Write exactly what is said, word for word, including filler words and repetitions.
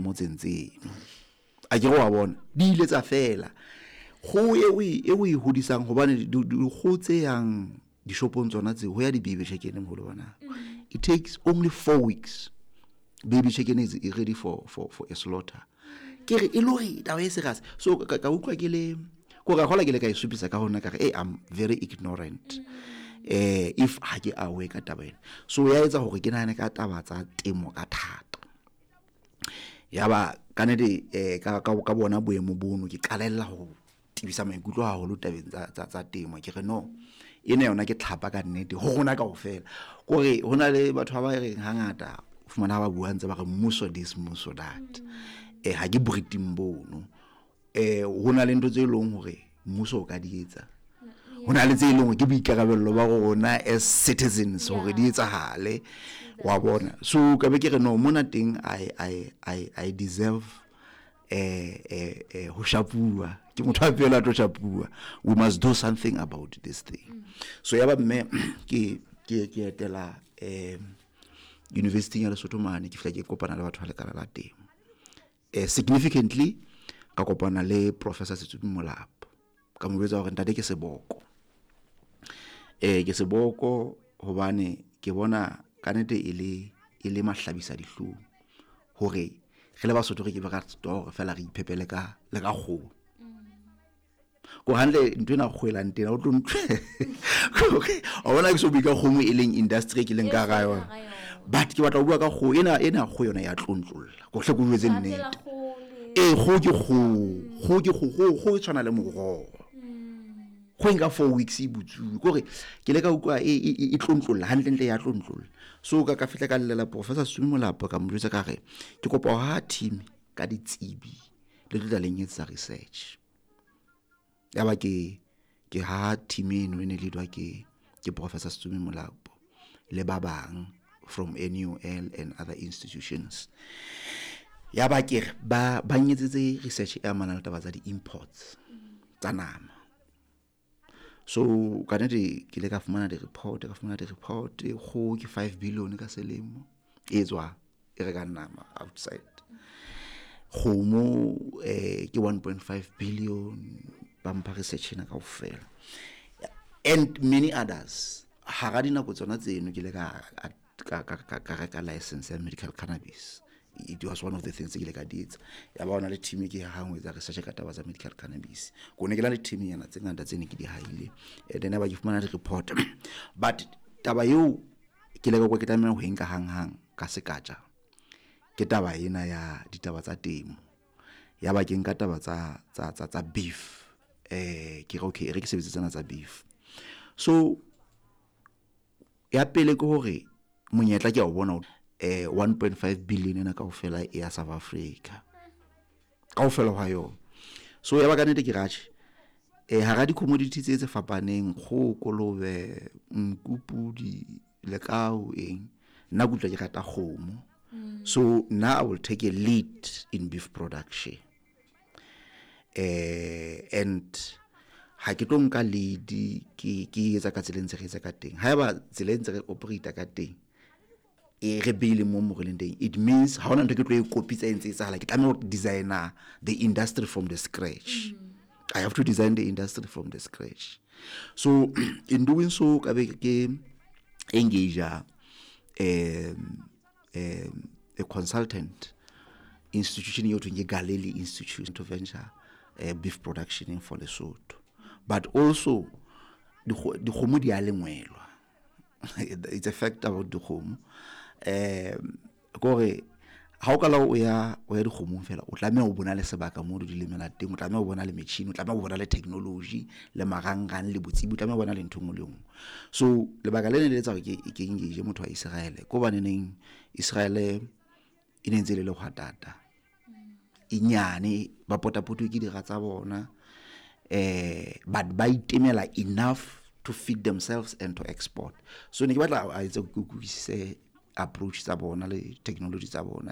motseng tseno a ke re wa bona di ile tsa fela kgoho e o e e o e hodisang hobane dikgoho tse yang dishopong tsona tseo ho ya di-baby chicken moholo bona it takes only four weeks baby chicken is ready for, for, for a slaughter ke re e le hore taba e serious so ka ka utlwa ke le ko ka gola ke le ka e supisa ka hona ka re hey, i'm very ignorant eh if ha ke aware ka taba ena so ya etsa hore ke nahane ka taba tsa temo ka thata ya ba ka nnete eh ka ka ka bona boemo bono ke qalella ho tebisa maikutlo haholo tabeng tsa tsa tsa temo ke re no ena yona ke tlhapa ka nnete ho rona kaofela kore ho na le batho ba ba reng hangata o fumana ha ba bua ntse ba re mmuso this mmuso that eh ha ke briting bono eh ho na le ntho tse leng hore mmuso o ka di etsa ho na le tse leng hore ke boikarabello ba rona as citizens hore di etsahale wa bona so ka be ke re no mona teng i i i i deserve eh eh eh ho shapuwa ke motho a pele a tlo shapuwa we must do something about this thing so ya ba mme ke ke ke etela eh university ya Lesotho mane ke fihla ke kopana le batho ba lekala la temo eh significantly ka kopana le professor Setsubi Molapo ka mo jwetsa hore ntate ke seboko eh ke seboko hobane ke bona ka nnete e le e le mahlabisa dihlong hore re le Basotho re ke be ra store fela re iphepele ka le ka kgoho ko hantle ntho ena kgoelang tena o tlo ntho wa bona ke so bue ka kgomo e leng industry ke leng ka hara yona but ke batla ho bua ka kgoho ena ena kgoho yona ya tlontlolla ko hle ko jwetse nnete ee kgoho ke kgoho kgoho ke kgoho kgoho e tshwana le moroho kgoho e nka four weeks e butsuwe kore ke le ka utlwa e e e tlontlolla hantlentle ya tlontlolla so ka ka fihla ka llela professor Sumi Molapo ka mo jwetsa ka re ke kopa ho ha team ka ditsebi le tlo tla leng etsa research ya ba ke ke ha team eno e ne leadwa ke ke professor Sumi Molapo le ba bang from NUL and other institutions ya ba ke re ba ba nyetsetse research e amanang le taba tsa di-imports tsa nama so ka nnete ke ile ka fumana di-report ka fumana di-report kgoho ke five billion ka selemo e tswa e rekang nama outside kgomo eh ke one point five billion ba mpha research ena kaofela and many others hara dinako tsona tseno ke ile ka ka ka ka reka license ya medical cannabis it was one of the things tse ke ile ka di etsa ya ba hona le team ke hang ho etsa research ka taba tsa medical cannabis ko ne ke na le team nyana tse ngata tse ne ke di haile and then ba ke fumana di-report but taba eo ke ile ka kwa ke tlameha ho e nka hang-hang ka sekatja ke taba ena ya ditaba tsa temo ya ba ke nka taba tsa tsa tsa tsa beef eh ke re okay e re ke sebetse tsena tsa beef so ya pele ke hore monyetla ke a o bona eh one point five billion ena kaofela e ya South Africa kaofela hwa yona so ya ba ka nnete ke ratjhe eh hara di-commodity tse tse fapaneng kgoho kolobe nku pudi lekao eng nna ke utlwa ke rata kgomo so now I will take a lead in beef production eh and ha ke tlo nka lead ke ke etsa ka tsela e ntse re etsa ka teng haeba tsela e ntse re operate ka teng e re beile mo mo re leng teng it means ha hona ntho ke tlo e kopitsa e ntse e etsahala ke tlameha ho designer the industry from the scratch mm. I have to design the industry from the scratch so in doing so ka be ke engage um um a consultant institution eo thweng ke Galilei Institute to venture uh, beef production for Lesotho but also dikgomo di a lengwelwa it's a fact about dikgomo um kore ha o kala o ya o ya dikgomong fela o tlameha o bona le sebaka mo di lemela teng o tlameha o bona le metjhini o tlameha o bona le technology le marangrang le botsebi o tlameha o bona le ntho e nngwe le nngwe so lebaka le ne le etsa hore ke ke engage motho wa Israel ko hobaneneng Israel e ne ntse le lehwatata e nyane ba potapotuwe ke dira tsa bona eh but ba itemela enough to feed themselves and to export so ne ke batla a etse ke utlwisise approach tsa bona le technology tsa bona